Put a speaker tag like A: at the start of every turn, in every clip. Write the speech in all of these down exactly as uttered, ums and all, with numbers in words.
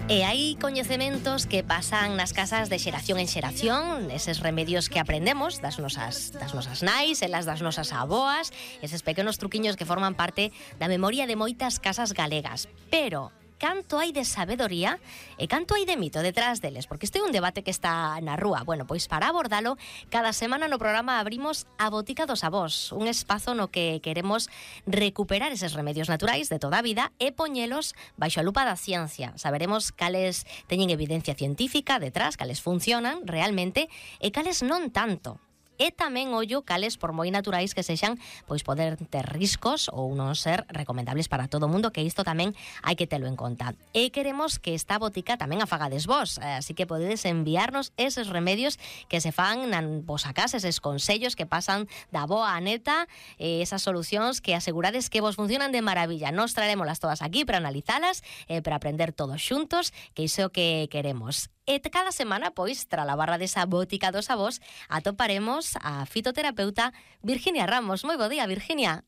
A: E hai coñecementos que pasan nas casas de xeración en xeración, eses remedios que aprendemos das nosas, das nosas nais, elas das nosas aboas, eses pequenos truquiños que forman parte da memoria de moitas casas galegas. Pero canto hai de sabedoría e canto hai de mito detrás deles, porque este é un debate que está na rúa. Bueno, pois para abordalo, cada semana no programa abrimos a Botica dos Avós, un espazo no que queremos recuperar eses remedios naturais de toda a vida e poñelos baixo a lupa da ciencia. Saberemos cales teñen evidencia científica detrás, cales funcionan realmente e cales non tanto. E tamén ollo cales, por moi naturais que sexan, pois poder ter riscos ou non ser recomendables para todo o mundo, que isto tamén hai que telo en conta. E queremos que esta botica tamén a fagades vos, así que podedes enviarnos eses remedios que se fan na vosa casa, eses consellos que pasan da boa a neta, esas solucións que asegurades que vos funcionan de maravilla. Nos traerémolas todas aquí para analizalas, eh, para aprender todos xuntos, que iso é o que queremos. E cada semana, pois, tra la barra desa Botica dos Avós, atoparemos a fitoterapeuta Virginia Ramos. Moi bo día, Virginia.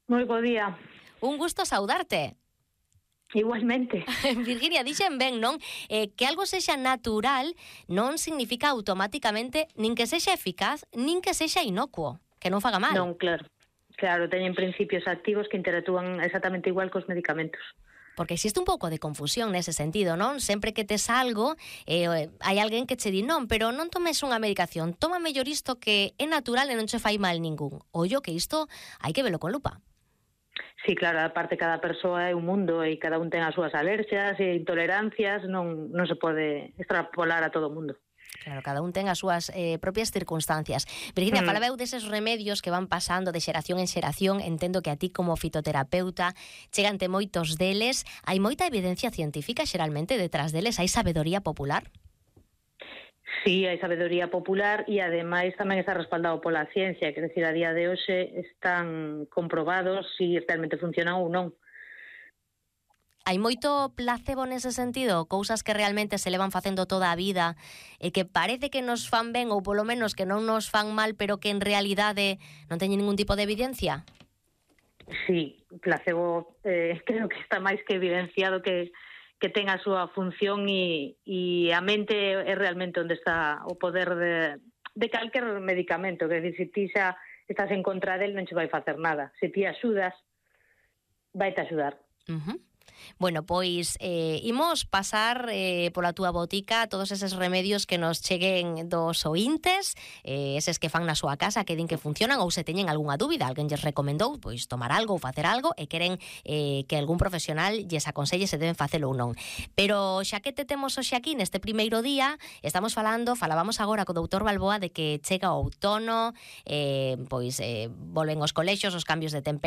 B: Moi bo día.
A: Un gusto saudarte.
B: Igualmente.
A: Virginia, dixen ben, non? Eh, que algo sexa natural non significa automáticamente nin que sexa eficaz, nin que sexa inocuo, que non faga mal.
B: Non, claro. Claro, teñen principios activos que interactúan exactamente igual cos medicamentos.
A: Porque existe un pouco de confusión nese sentido, non? Sempre que tes algo, eh, hai alguén que che di non, pero non tomes unha medicación, toma mellor isto que é natural e non che fai mal ningún. Ollo que isto hai que velo con lupa.
B: Sí, claro, aparte cada persoa é un mundo e cada un ten as súas alerxias e intolerancias, non, non se pode extrapolar a todo o mundo.
A: Claro, cada un ten as súas eh, propias circunstancias. Virginia, mm. falabeu deses remedios que van pasando de xeración en xeración. Entendo que a ti como fitoterapeuta chegante moitos deles. Hai moita evidencia científica xeralmente detrás deles? Hai sabedoría popular?
B: Sí, hai sabedoría popular e ademais tamén está respaldado pola ciencia, quer decir, a día de hoxe están comprobados se si realmente funcionan ou non.
A: Hai moito placebo nese sentido? Cousas que realmente se levan facendo toda a vida e que parece que nos fan ben ou polo menos que non nos fan mal, pero que en realidade non teñen ningún tipo de evidencia?
B: Sí, placebo eh, creo que está máis que evidenciado que, que ten a súa función e, e a mente é realmente onde está o poder de, de calquer medicamento. Que decir, se ti xa estás en contra del non che vai facer nada. Se ti axudas, vai te axudar.
A: Uh-huh. Bueno, pois eh, imos pasar eh, pola túa botica todos eses remedios que nos cheguen dos ointes, eh, eses que fan na súa casa, que din que funcionan, ou se teñen algunha dúbida, alguén lles recomendou pois tomar algo ou facer algo e queren eh, que algún profesional lles aconselle se deben facelo ou non. Pero xa que te temos hoxe aquí neste primeiro día, estamos falando, falábamos agora co doutor Balboa de que chega o outono, eh, pois eh, volven os colexios, os cambios de temperatura,